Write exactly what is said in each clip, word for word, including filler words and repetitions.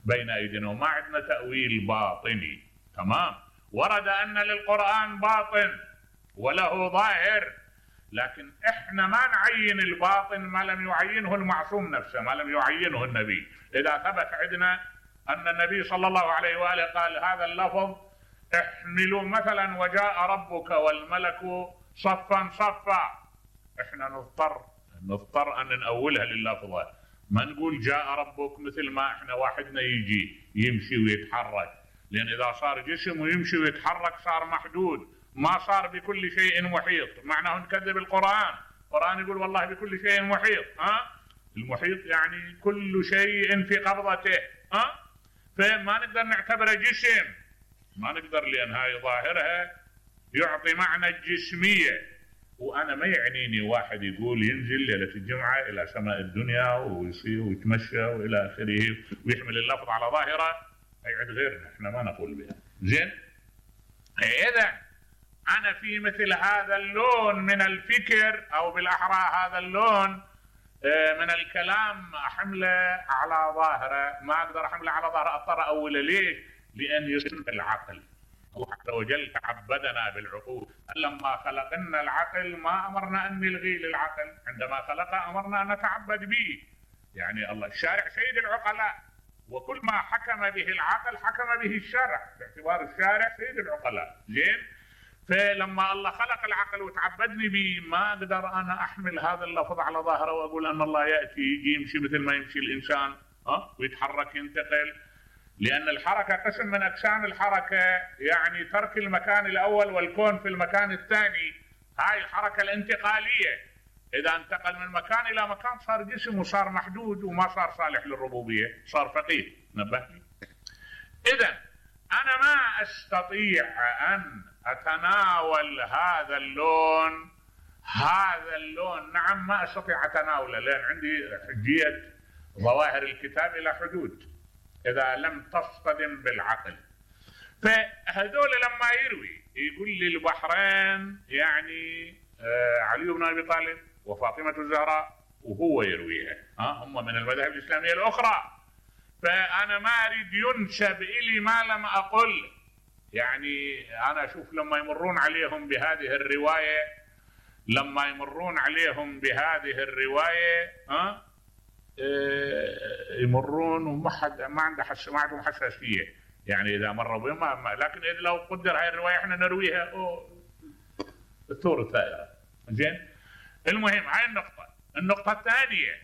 بين ايدينا، وما عندنا تأويل باطني. تمام. ورد ان للقرآن باطن وله ظاهر، لكن احنا ما نعين الباطن ما لم يعينه المعصوم نفسه، ما لم يعينه النبي. اذا ثبت عندنا ان النبي صلى الله عليه واله قال هذا اللفظ احملوا مثلا وجاء ربك والملك صفا صفا، احنا نضطر نضطر ان نأولها لللفظة، ما نقول جاء ربك مثل ما احنا واحدنا يجي يمشي ويتحرك، لان اذا صار جسم ويمشي ويتحرك صار محدود، ما صار بكل شيء محيط، معناه نكذب القرآن. القرآن يقول والله بكل شيء محيط. ها؟ المحيط يعني كل شيء في قبضته. ها؟ فما نقدر نعتبره جسم، ما نقدر، لان هاي ظاهرها يعطي معنى الجسمية. وانا ما يعنيني واحد يقول ينزل ليلة الجمعة الى سماء الدنيا ويصير ويتمشى والى اخره ويحمل اللفظ على ظاهره، هي عند غيرنا، احنا ما نقول بها. زين؟ اذا انا في مثل هذا اللون من الفكر، او بالاحرى هذا اللون من الكلام احمله على ظاهره، ما اقدر احمله على ظاهره، اضطر اول ليه؟ لان يصير العقل. الله عز وجل تعبدنا بالعقول، لما خلقنا العقل ما امرنا ان نلغي للعقل، عندما خلقه امرنا ان نتعبد به. يعني الله الشارع سيد العقلاء، وكل ما حكم به العقل حكم به الشرع، باعتبار الشارع سيد العقلاء. زين؟ فلما الله خلق العقل وتعبدني به، ما اقدر انا احمل هذا اللفظ على ظاهره واقول ان الله ياتي يجي يمشي مثل ما يمشي الانسان، ها، ويتحرك ينتقل، لان الحركه قسم من اقسام الحركه، يعني ترك المكان الاول والكون في المكان الثاني، هاي الحركه الانتقاليه. اذا انتقل من مكان الى مكان صار جسم وصار محدود وما صار صالح للربوبيه، صار فقير. نبهني. اذا انا ما استطيع ان اتناول هذا اللون، هذا اللون نعم ما استطيع اتناوله، لان عندي حجيه ظواهر الكتاب الى حدود اذا لم تصطدم بالعقل. فهذول لما يروي يقول لي البحرين يعني آه علي بن ابي طالب وفاطمه الزهراء، وهو يرويها، ها هم من المذاهب الاسلاميه الاخرى، فانا ما اريد ينسب الي ما لم اقل. يعني انا اشوف لما يمرون عليهم بهذه الروايه، لما يمرون عليهم بهذه الروايه ها يمرون وما حد ما عنده حس ما عندهم حساسيه، يعني اذا مروا بما، لكن إذا لو قدر هاي الروايه احنا نرويها الثور الثائره. زين؟ المهم هاي النقطه. النقطه الثانيه،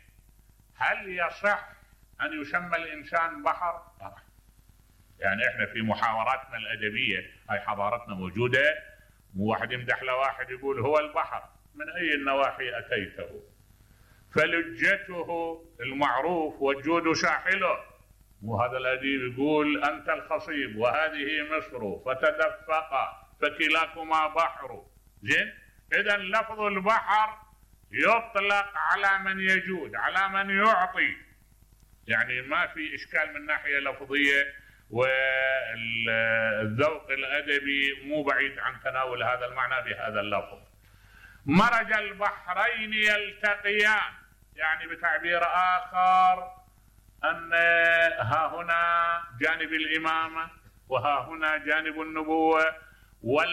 هل يصح ان يسمى الانسان بحر؟ طبعا. يعني احنا في محاوراتنا الادبيه، هاي حضارتنا موجوده، مو واحد يمدح لواحد يقول هو البحر، من اي النواحي اتيته؟ فلجته المعروف والجود ساحله، وهذا الأديب يقول أنت الخصيب وهذه مصر فتدفقا فكلاكما بحر. زين؟ إذا لفظ البحر يطلق على من يجود، على من يعطي، يعني ما في إشكال من ناحية لفظية، والذوق الأدبي مو بعيد عن تناول هذا المعنى بهذا اللفظ. مرج البحرين يلتقيان، يعني بتعبير آخر أن ها هنا جانب الإمامة وها هنا جانب النبوة،